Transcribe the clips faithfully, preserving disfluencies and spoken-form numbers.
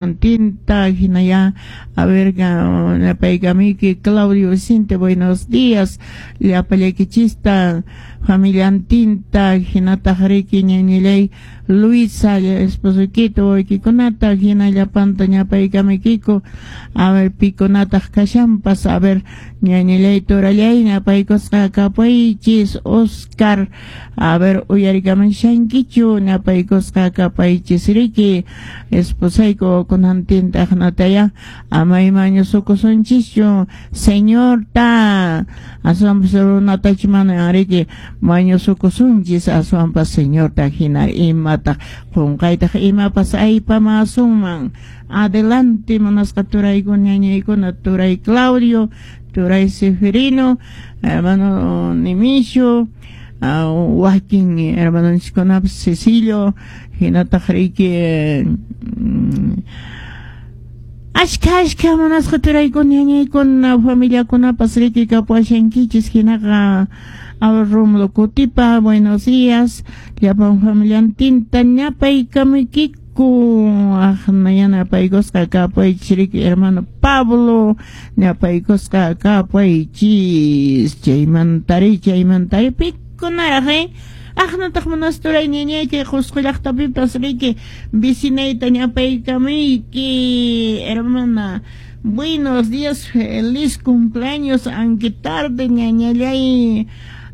Tinta, hinaya, a ver, ñapaykamiki Claudio Vicente, buenos días, llapallaykichista, familiantinta, hinataq riki ñañillay Luisa, esposoykita, wawaykikunata, hina llapanta ñapaykamiykiku, a ver, pikunataq kashanpas, a ver, ñañillay turallay, ñapaykusqa kapaychis, Oscar, a ver, uyarikamushankichu, ñapaykusqa kapaychis riki, esposayku kunantinta aqnataya, ama imañusukusunchischu, Señorta, aswanpas runatachu mana riki mañusukusunchis, aswanpas Señorta hina imataq qunqaytaq imapas aypamasunman. Adelante, munasqa turaykuna ñañaykuna, turay Claudio, turay Seferino, hermano Nimisho, uh, wakin hermanonchiskunapas Cecilio, hinataq riki mm, ashka ashka munasqa turaykuna ñañaykuna familiakunapas riki kapuashankichis hinaqa. Rómulo Kutipa, buenos días, llapan familiantinta ñapaykamuykiku, aqna yanapaykusqa kapaychis riki hermano Pablo, ñapaykusqa kapaychis, chaymantari chaymantari pikunaraq eh aqnataq munasqa turay ñañayki Qusqu llaqtapipas riki vecinayta ñapaykamuyki, hermana. Buenos días, feliz cumpleaños, aunque tarde, ñañallay.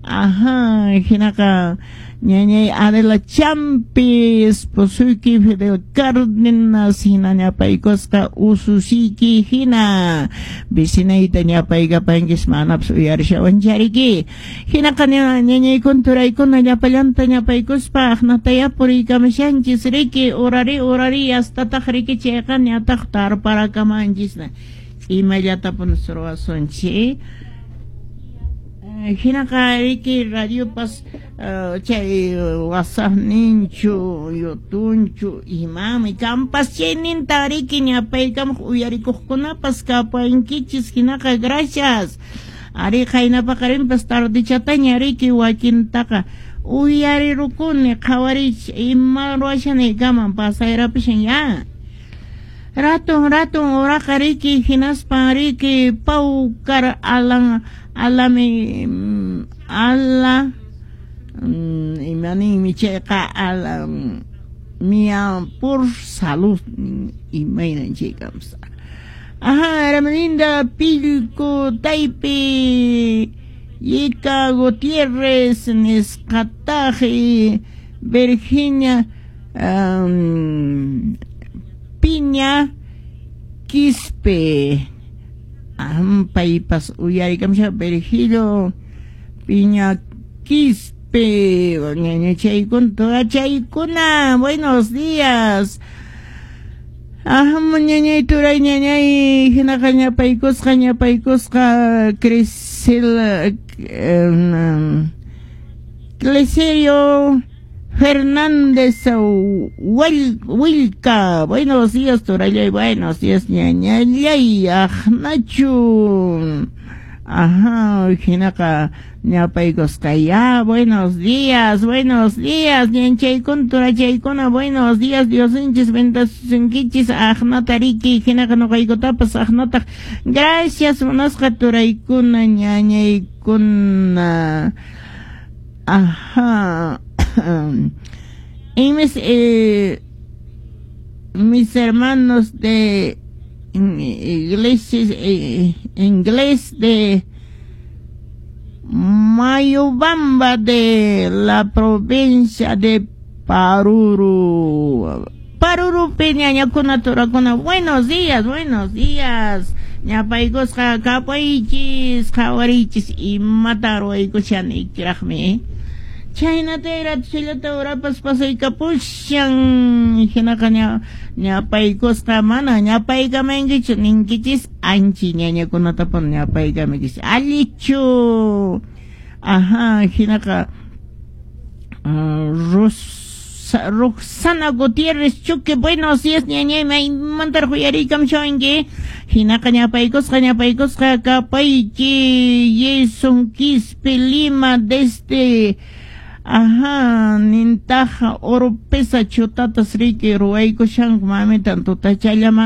Ajá, hinaqa ñañay Adela Champi, esposuyki Fidel Cárdenas, hina ñapaykusqa ususiyki hina vecinayta ñapaykapankis manapas uyarishawanchariki. Hinaqa ñañaykuna turaykuna llapallanta ñapaykuspa aqnataya puriykamushanchis riki, urari urari hastataq riki chayqa ñataq tarparakamanchis imallatapunis ruwasunchis. Hinaqa riki radiopas uh, chay WhatsAppninchu, YouTubechu imami kampas chayninta riki ñapaykamuq uyarikuqkunapas kapankichis hinaqa gracias. Ari qaynapaqarinpas tardechataña riki wakintaqa uyarirukuni qhawarich ima ruwashanaykaman pasayrapishan ya. Ratun ratun uraqa riki hinaspan riki pawkar alan alami ala imaninmi chayqa ala mia por salud imaynan chaykamsa. Ajá, Hermelinda Pilco Taipe Yeka Gutiérrez nisqataji Virginia um, Piña Quispe. Paypas uyarikamusha Virgilio Piña Quispe, ñañachaykuna chaykuna, buenos días. Ajá, ñañay turay ñañay hinaqa ñapaykusqa ñapaykusqa Crisel Cleserio Fernández Wilca, buenos días turallay, buenos días ñañallay, aqnachu. Ajá, hinaqa ñapaykusqa ya, buenos días, buenos días, ñanchaykuna turachaykuna, buenos días, Diosinchis bendasusunkichis, aqnata riki, hinaqa nuqaykutapas aqnataq, gracias munasqa turaykuna ñañaykuna. Ajá. Y mis, eh, mis hermanos de iglesias, eh, inglés de Mayubamba de la provincia de Paruro. Paruro peñañakuna turakuna, buenos días, buenos días. Ñapaykusqa kapaychis, qhawarichis imata ruwaykushanikiraqmi. Chaynata chillata urapas pasaykapushan hinaqa ñapaykusqa mana ñapaykamankichu ninkichis anchi ñañakunatapas ñapaykamankichis allichu. Ajá, hinaqa Rosa, Roxana Gutiérrez Chuque, buenos días ñañay maymantaraq uyariykamushawanki hinaqa ñapaykusqa ñapaykusqa kapayki Jason Quispe Lima desde Ajá, nintaja oropesa chutatas riki ruwaykushanku mamitan tutachallama.